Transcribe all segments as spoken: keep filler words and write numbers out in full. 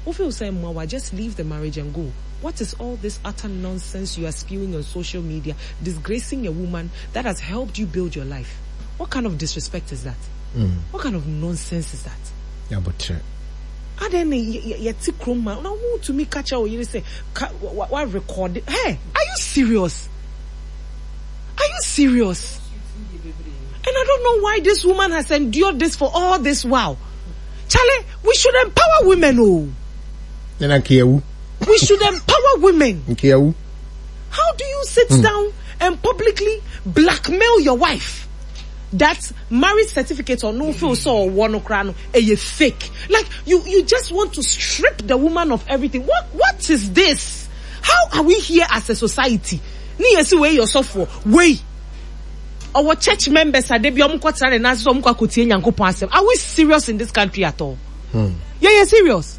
Wo feel sɛ mmoa just leave the marriage and go. What is all this utter nonsense you are spewing on social media, disgracing a woman that has helped you build your life? What kind of disrespect is that? Mm. What kind of nonsense is that? Yeah, but Adan yɛte kurom ma na wotumi ka kyerɛ wo yere sɛ wa record. Hey, are you serious? Are you serious? And I don't know why this woman has endured this for all this while. Charlie, we should empower women, oh. We should empower women. How do you sit mm. down and publicly blackmail your wife? That marriage certificate or no feel so or one crown a fake. Like you, you just want to strip the woman of everything. What, what is this? How are we here as a society? Ni yesi we yourself for we. Our church members are they be omu kwatara na so omu kwakotie Nyankopɔn asɛm. Are we serious in this country at all? Hmm. Yeah, yeah, serious.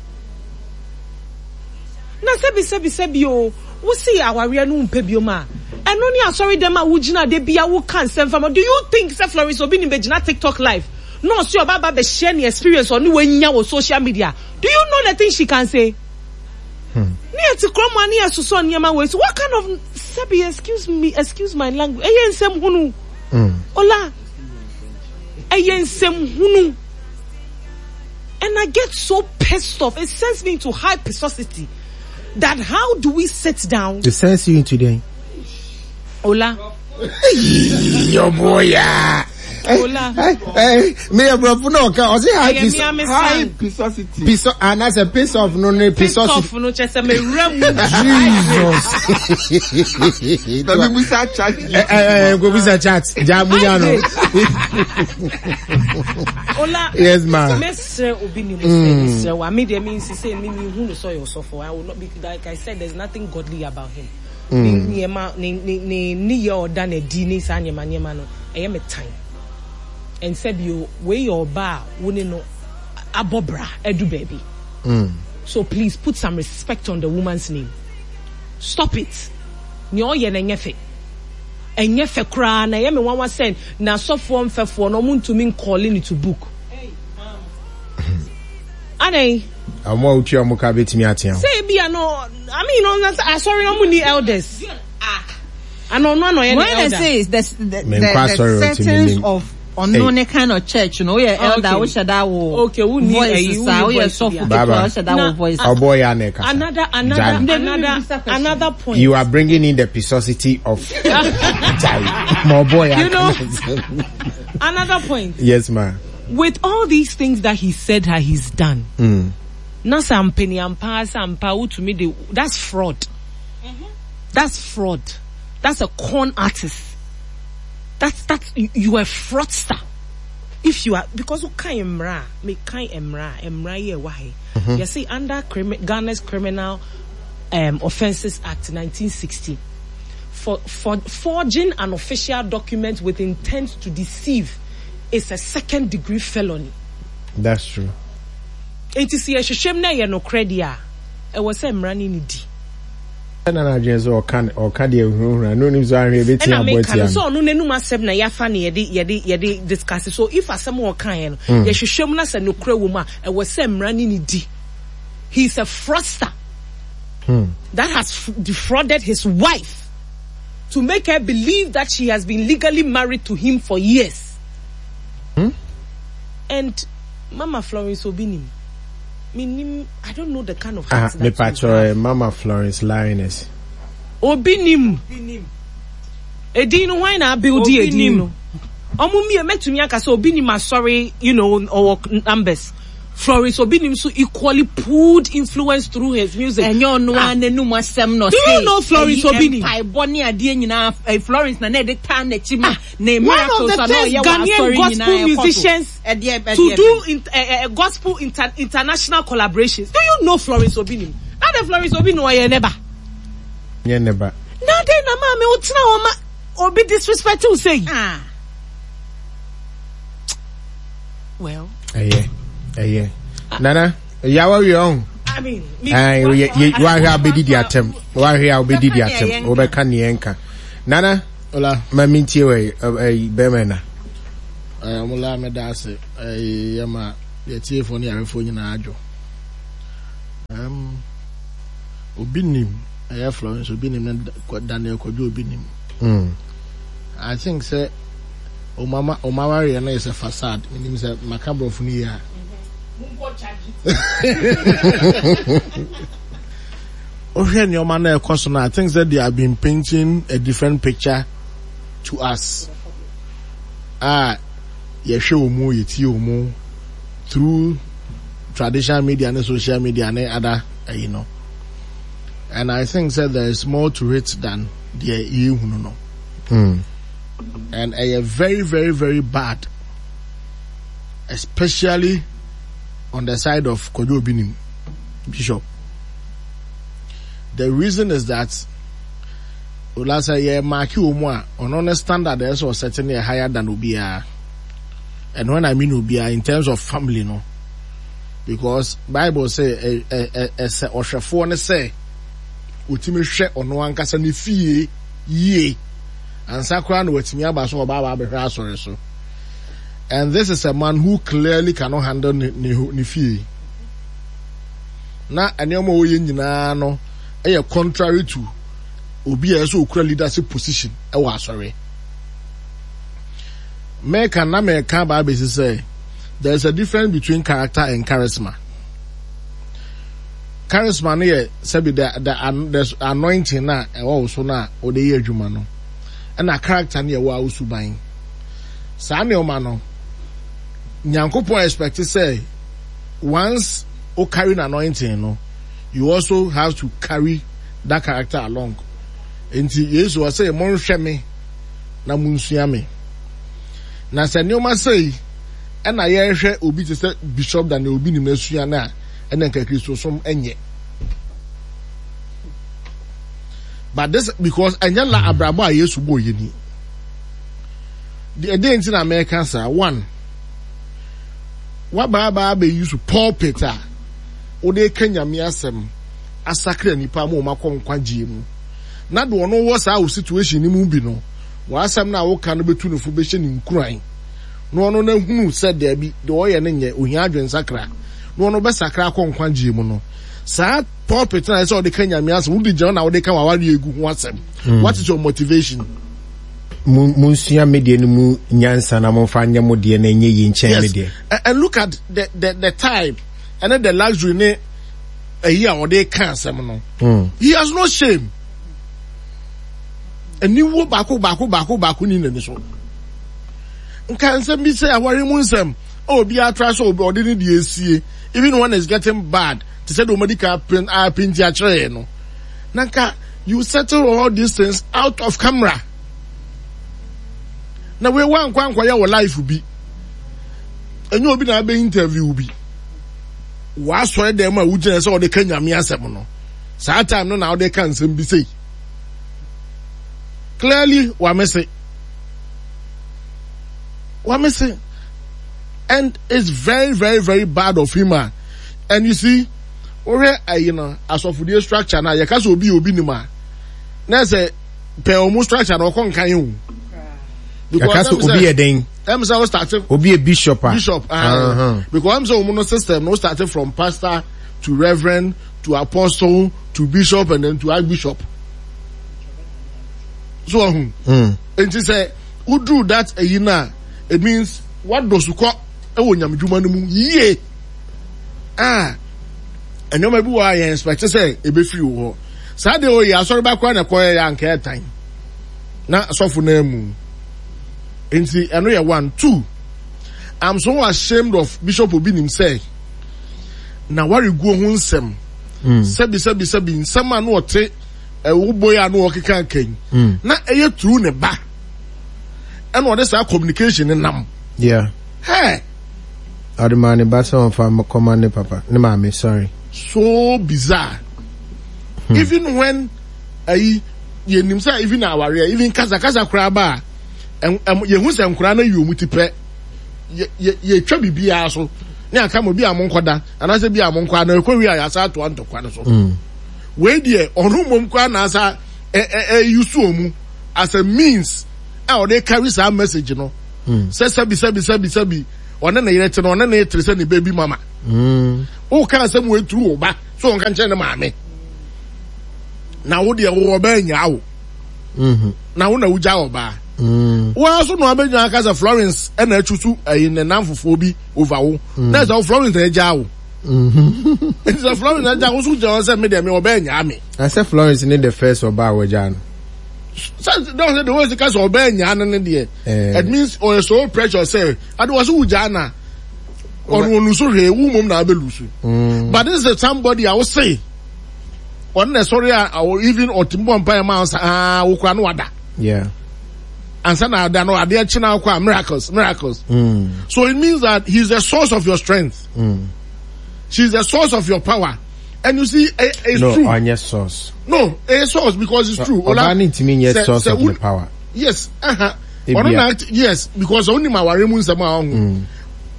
Na sebi sebi sebi o, wo see aware no mpe bio ma. Eno ni asori dem a wo gina de bia wo kan sem fam. Do you think say Florence Obi ni be gina TikTok live? No, see oba ba be share ni experience or ni we nya wo social media. Do you know the thing she can say? Hmm. Ni eti kroma ni esuso niema we. So what kind of sebi, excuse me, excuse my language. Eye nsem hunu. Mm. Ola. Eye nsem hunu. And I get so pissed off. It sends me into high pisosity. That how do we sit down? It sends you into the Ola. Yo boy, yeah. Ola. Hey, hey, me a bro, no, I say high pis- high pisosity. Piso, and that's a piss off, no, no, piss off, no, just a me Jesus. Let me chat. Eh, eh, go we chat. Jamu Ola. Yes, ma'am. Mesre obi ni mesre. Wa me dey mean say me me hu no so yourself. I will not be, like I said, there's nothing godly about him. Ni ni ni ni ni ye oda na di ni sa nyema nyema no. Eye me time. And said you weigh your bar, wouldn't know abobra edu baby. Mm. So please put some respect on the woman's name. Stop it. Nyo ye na nyefe. Enyefe kra na ye me wan wan send na sofo mfefo no muntumi calling it to book. Hey, ma'am. Anay. Amo uchi amoka betimi atia. Say bi ano, I mean on sorry no muni elders. Ah. Ano no no ye elder. When I say is the the, the, the settings of unknown kind of church, you know, yeah, elder, we should that okay, we need voice, we are soft, we should that voice. Oh boy, aneka. Another, another, another, another point. You are bringing in the pisosity of more boy. You know, another point. Yes, ma'am. With all these things that he said that he's done, mm. na sampeni ampa sampa to me, that's fraud. Mm-hmm. That's fraud. That's a con artist. That's, that's, you, you are a fraudster. If you are, because you can't emra, me can't emra, emra ye wahe. You see, under crimi- Ghana's Criminal, um, Offences Act nineteen sixty, for, for forging an official document with intent to deceive is a second degree felony. That's true. It is a shame na ye no credia. It was emra ni di. Na or can or can the no no so so no nenu masem na ya fa na yede yede yede discuss. So if asem o kan no ye hwehwem na se no kura wo ma e wo se mra ni ni di. He's a fraudster hmm. that has defrauded his wife to make her believe that she has been legally married to him for years. Hmm? And Mama Florence Obinim, me, I don't know the kind of heart ah, that me patro, Mama Florence Lioness. Obinim. Edin why na build Edin. Omu mi metumi aka so Obinim are sorry, you know, or numbers. Florence Obinim so equally pulled influence through his music. And you know, ah. No do you know Florence Obinim? Florence na ne one of the first Ghanaian gospel musicians to do in, uh, uh, gospel inter- international collaborations. Do you know Florence Obinim? Not the Florence Obinim or never. Yeah, never. Now then, na ma me otina oma obi disrespectful say. Ah. Well. Uh, yeah. Uh, yeah. Nana, yawa we on. I mean, me. Eh, wa hwe abedi di atem. Wa hwe abedi di atem. Wo be ka ne enka. Nana, hola. Ma mintie we eh be na. Eh, mola me da ase. Eh, yema ye tie fo ne arefo nyina adwo. Eh, Obinim, ɛyɛ Florence Obinim ne Daniel Kwadwo Obinim. Mm. I think sɛ ɔmo ɔmo awareɛ no yɛ sɛ facade. Menim sɛ maka borɔfo no yie a. Wohwɛ nneɛma na ɛkɔ so no, I think that they have been painting a different picture to us. Ah, yɛhwɛ wɔn mu, yɛtie wɔn mu through traditional media and social media and other, you know. And I think that there is more to it than the yɛhunu no. Mm. And ɛyɛ very, very, very bad, especially on the side of Kwadwo Obinim, Bishop. The reason is that Olasa yɛ mark wɔ mu a ɔno ne standard ɛsɛ ɔsɛte ne yɛ higher than obiara. And when I mean obiara in terms of family no, because Bible say ɛsɛ ɔhwɛfoɔ ne sɛ otimi hwɛ ɔno ankasa ne fie yie ansa koraa na watumi aba so ɔba aba abɛhwɛ asɔre so. And this is a man who clearly cannot handle ne ne ne fie. Na nneɛma a ɔyɛ nyinaa no ɛyɛ contrary to obi a ɛsɛ okura leadership position ɛwɔ asɔre. Mɛka na mɛka aba abɛsi sɛ there is a difference between character and charisma. Charisma no yɛ sɛbi the the the anointing na ɛwɔ wo so na ɔde yɛ adwuma no, ɛna character no yɛ wɔ awusuban. Saa nneɛma no, Nyankopɔn expect sɛ once o carry an anointing no, you also have to carry that character along. Nti Yesu ɔsɛ monhwɛ me na monsua me. Na sɛ nneɛma sɛyi ɛna yɛrehwɛ obi te sɛ Bishop Daniel Obinim na asua no a, ɛna nka Kristosom ɛnyɛ. But this because ɛnyɛ la abrabɔ a Yesu bɔ yɛ ni. Ɛdeɛ nti na mɛka saa, one, wabaabaa abɛyi so pulpit a wode ka Nyame asɛm asakra nipa ma wɔn akɔ nkwagyeɛ mu. Na de ɔno wɔ saa wo situation no mu bi no, w'asɛm no a woka no bɛtu ne fo bɛhyɛ ne nkuran. Na ɔno na hunu sɛ daabi, deɛ ɔyɛ no nyɛ, ohia adwensakra. Na ɔno bɛsakra akɔ nkwagyeɛ mu no. Saa pulpit na ɛsɛ ɔde ka Nyame asɛm, wode gyina na wode ka w'awareɛ egu ho asɛm. Mm. What is your motivation? Munsua me deɛ no mu nyansa na momfa nyɛ mo deɛ na ɛnyɛ yi nkyɛn me deɛ. And, and look at the, the, the type and then the luxury ne ɛyi a ɔde ka asɛm no. Mm. He has no shame. Aniwuo baako baako baako baako ni n'ani so. Nka nsɛm bi sɛ aware mu nsɛm a obi atra sɛ ɔde ne deɛ esie even when it's getting bad te sɛ deɛ ɔmadi ka apinti akyerɛ yɛn no. Na nka you settle all these things out of camera. Na wei wankɔ ankɔyɛ wɔ life bi. Ɛnyɛ obi na abɛ interview bi. W'asɔre dɛm a wogyina sɛ ɔde ka Nyame asɛm no. Saa time no na ɔde ka nsɛm bi sei. Clearly wamese. Wamese. And it's very very very bad of him. Ah. And you see, wohwɛ ayi no asɔfodie structure na yɛka sɛ obi obi nim a na sɛ pɛ ɔmo structure na ɔkɔ nkan o. Yɛka sɛ obi yɛ den. Ɛm sɛ o start. Obi yɛ bishop a. Bishop ah. Because ɛm sɛ ɔmo no system no start from pastor to reverend to apostle to bishop and then to archbishop. So ɔho. Mm. Nti sɛ woduru that ɛyi na it means wadɔ sukɔ ɛwɔ nyamedwuma no mu yie. Ah, nneɛma bi wɔ a yɛn expect sɛ ebefiri wɔ hɔ. Saa deɛ oyɛ asɔre ba koraa na ɛkɔyɛ yɛ anka ɛtan na asɔfo no amu. Nti ɛno yɛ one. Two, I'm so ashamed of Bishop Obinim sɛ na wareguo ho nsɛm. Mm. Sɛbi sɛbi sɛbi nsɛm a na ɔte ɛwo boy a na ɔkeka nkan. Mm. Na ɛyɛ true ne ba. Ɛna ɔde saa communication ne nam. Yeah. Hey. Ɔde maa ne ba sɛ ɔmfa kɔma ne papa, ne maame, sorry. So bizarre. Hmm. Even when ayi yɛnim sɛ even awareɛ even kasakasa koraa ba a yɛhu sɛ nkoraa no ayi wɔn ti pɛ yɛtwa biribiara so ne aka ma bi a mo nkɔda anaasɛ bi a mo nkɔ ana ɛkɔ wie a yɛasa atoa ntɔkwa no so. Mm. Wei deɛ ɔno mmom koraa na asa ɛyi so wɔn as a means a ɔde carry saa message no. Mm. Sɛ sɛbi sɛbi sɛbi sɛbi ɔne ne yere te no ɔne ne tere sɛ ne baby mama. Mm. Woka asɛm wei turu wo ba so ɔnka nkyerɛ ne maame. Na wo deɛ wo ɔbaa nyaa wo. Mm-hmm. Na wo na wogya ɔbaa. Mm. Wo ara so na wabɛgyina aka sɛ Florence ɛna atwi so ɛyi ne nam fofoɔ bi over wo. Mm. Na ɛsɛ wo Florence na agya wo. Mm-hmm. Nti sɛ Florence na agya wo so gyina hɔ sɛ me deɛ me ɔbaa nyaa me. Na sɛ Florence ne the first ɔbaa wagya no. Sɛ dɔn sɛ de wɔn sika sɛ ɔbaa nyaa no ne deɛ. Eh. It means ɔyɛ so pressure sɛ ade wɔ so wogya na ɔno ɔnu so hwee wo mmom na abɛlu so. Mm. But this is somebody a wose ɔno na ɛsɔre a even ɔtumi bɔ mpaeɛ ma ansa aa wokura no wada. Yeah. Ansa na ada no adeɛ kye na akɔ a miracles miracles. Mm. So it means that he is the source of your strength. Mm. She is the source of your power. And you see, it, it's no, true. ɔnyɛ source. No, it's source because it's true. Ɔbaa ne ntumi nyɛ source of the power. Yes, uh-huh. Ɔno na yes because ɔno ma aware mu nsɛm a ɔho.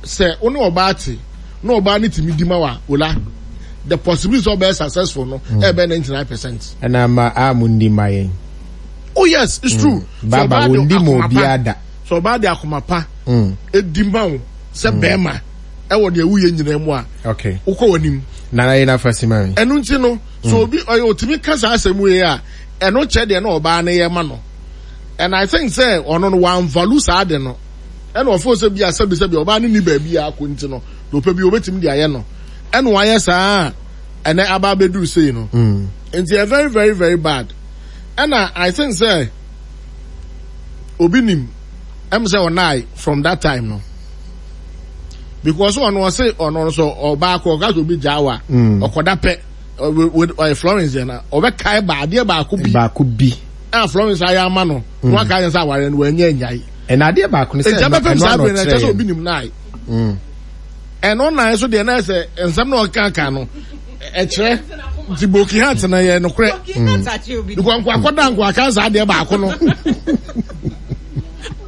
Sɛ ɔne ɔbaa te na ɔbaa ne tumi di ma wa ola the possibility of being successful no ɛbɛ ninety nine percent. Ɛna ma a mo ndi ma yɛn. Oh yes, it's true. Baba wo ndi ma obiara da. Sɛ ɔbaa de akoma pa edi ma wo sɛ bɛrima ɛwɔ deɛ woyɛ nyinaa mu a. Okay. Wokɔ w'anim. Nana yɛ n'afa si ma mi. Ɛno nti no so obi ɔyɛ otumi ka saa asɛm wei a ɛno kyɛ deɛ na ɔbaa no yɛ ma no and I think sɛ ɔno no wan value saa de no ɛna ɔfo sɛ bi a sɛbi sɛbi ɔbaa no ni baabi a akɔ nti no deɛ ɔpɛ bi obetumi de ayɛ no ɛna wayɛ saa ɛnɛ aba abɛduru sei no nti ɛ very very very bad ɛna I think sɛ obi nim ɛm sɛ ɔnae from that time no because ɔno ɔse ɔno nso ɔbaa kɔ ɔka sɛ obi gyaa wa ɔkɔda pɛ ɔyɛ Florence yɛn na ɔbɛkae ba adeɛ baako bi baako bi a Florence ayɛ ama no na waka ayɛ sɛ awareɛ no wanya nyae ɛna adeɛ baako no sɛ ɛgya bɛpem saa bere no ɛkyɛ sɛ ɔkyerɛ obi nim nae ɛno nae so deɛ na ɛsɛ nsɛm na ɔka ka no ɛkyerɛ nti boki hat na yɛ nokorɛ because nko akɔda nko aka saa adeɛ baako no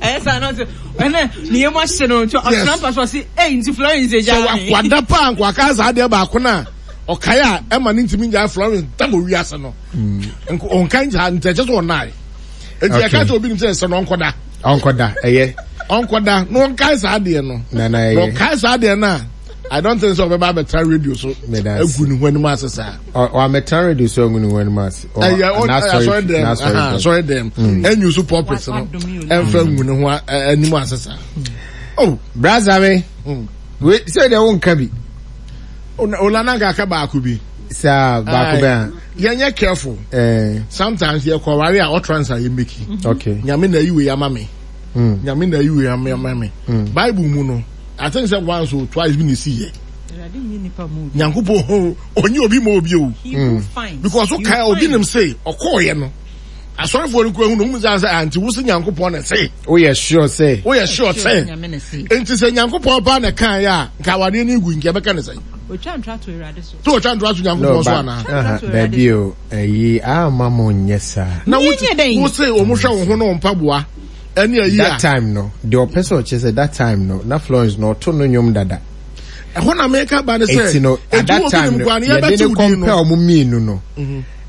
ɛyɛ saa na ɔsɛ ɛnɛ ne yam ahye no nti ɔtena mpa so ɔse ei nti Florence agya sɛ me wakwada paa nko aka saa adeɛ baako no a ɔkae a ɛma ne ntumi ngyae Florence tam owiase no nko ɔnka nkyɛ nti ɛkyɛ sɛ ɔnae nti ɛka sɛ obi nim sɛ ɛsɛ no ɔnkɔda ɔnkɔda ɛyɛ ɔnkɔda na ɔnkae saa adeɛ no na na na ɛyɛ ɔkae saa adeɛ no a I don't think sɛ ɔbɛba abɛtena radio so Meda ase. agu ne ho anim ase saa ɔamɛtena radio so agu ne ho anim ase Ɔ- ɛyɛ ɔ- n'asɔre- asɔre dɛm n'asɔre aha, dɛm. asɔre dɛm ɛnyu so pulpit no ɛnfɛ ngu ne ho a- ɛ- anim ase saa oh Brasa me mm. we sɛ deɛ wonka bi Ola na nka aka baako bi saa baako bɛn a yɛnyɛ careful ɛɛ sometimes yɛkɔ ware a utterance a yɛmeki okay nyame na ayi wei ama me mm. nyame na ayi wei ama ama me bible mu no I think sɛ once or twice bi na esi yɛ Awurade nyi nipa mu obi. nyankopɔn ho onye obi ma obi o He who finds, because you wokae obi find. nim se ɔkɔɔyɛ no asɔrefoɔ no kura hu no hu sɛ sɛ anti wo se nyankopɔn na se woyɛ sure sɛ woyɛ sure sɛ Nyame na se. nti sɛ nyankopɔn paa na kaeɛ a nka awadeɛ no gu nka ɛbɛka ne sɛn Otwa ntra to Awurade so. sɛ ɔtwa ntoa so nyankopɔn so ba anaa aha, daabi o ɛyi ama mo nyɛ saa na Ne wote yɛnyɛ dɛn? wo se wɔn hwɛ wo ho ne wɔn mpaboa ɛne ayi that a time no deɛ ɔpɛ sɛ ɔkyerɛ sɛ that time no na Florence no ɔto no nnwom dada ɛhɔ na meka ba ne sɛ eti no at eti that obi time nim no kwan no yɛde yɛbɛte ne wo din kɔmpɛ no ɔmo mmienu no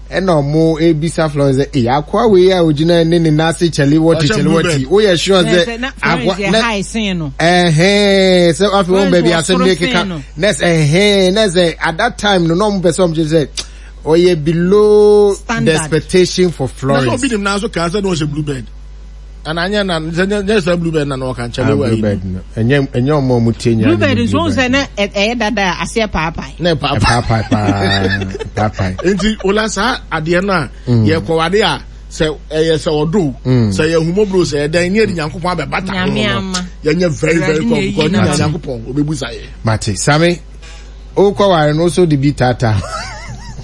ɛna ɔmo ebisa Florence sɛ ee akoa wei a ogyina ne ne nan ase kyɛle wɔte Ɔhyɛ kyɛle blue wɔte bed. woyɛ sure Sɛ sɛ na Florence yɛ na high sen no. ɛhɛn sɛ afei wɔn Florence baabi wɔ asɛm soro ne sen keka no. nɛs ɛhɛn nɛs ɛ at that time no na ɔmo pɛ sɛ ɔmo kyerɛ sɛ ɔyɛ below the Standard. expectation for na sɛ Florence. obi nim nan so kaa sɛ na ɔhyɛ blue bed ana anyɛ na sɛ nyɛ nyɛ sɛ blue bed na na ɔka nkyɛn Ah, wɔ blue ayi bed no ɛnyɛ ɛnyɛ ɔmo a ɔmo tie nyinaa Blue ne bird nso blue wohu sɛ bed na ɛ- ɛyɛ dada a aseɛ paapae. na ɛpaapa paapae paa paapae nti ola saa adeɛ no a yɛkɔwade a sɛ ɛyɛ sɛ ɔdo sɛ yɛ humobro sɛ ɛdɛn ne yɛde nyankopɔn abɛbata ho Nyame no ama. yɛnyɛ very very Awurade na careful eyi because ne n'ama. nyankopɔn obɛbu sa yɛ mate same wokɔ ware no so de bi taataa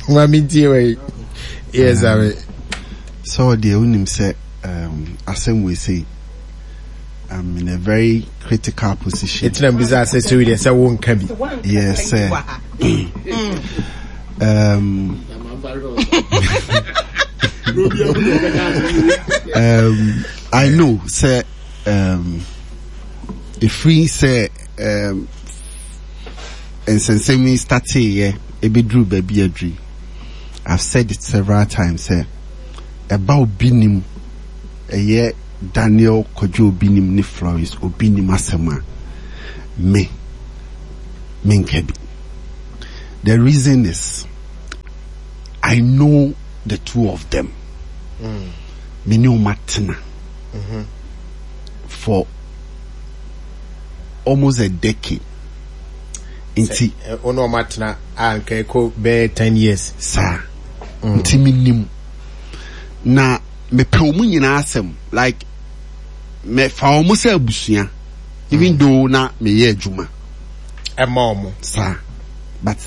ma mentie wei yɛ same sɛ ɔdeɛ wonim sɛ um, asɛm wei sei I'm in a very critical position. ɛtina mbisa sɛ sɛ deɛ sɛ wonka bi Yes, sir. Um, um, I know, sir. Um, if we say, um, nsɛnsɛm yi starteeɛ ɛbɛduru baabi aduru I've said it several times sɛ ɛba obi nim ɛyɛ Daniel Kwadwo obi nim ne Florence obi nim asɛm a me menka bi. The reason is I know the two of them. Me ne wɔn atena for almost a decade. Nti. Wo ne wɔn atena a nka ɛkɔ bɛyɛ ten years. Saa. Nti me nim. Na mepɛ wɔn nyinaa asɛm like mefa wɔn sɛ abusua even though na meyɛ adwuma. Ɛma wɔn. Saa. But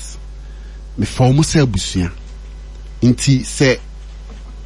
mefa wɔn sɛ abusua. Nti sɛ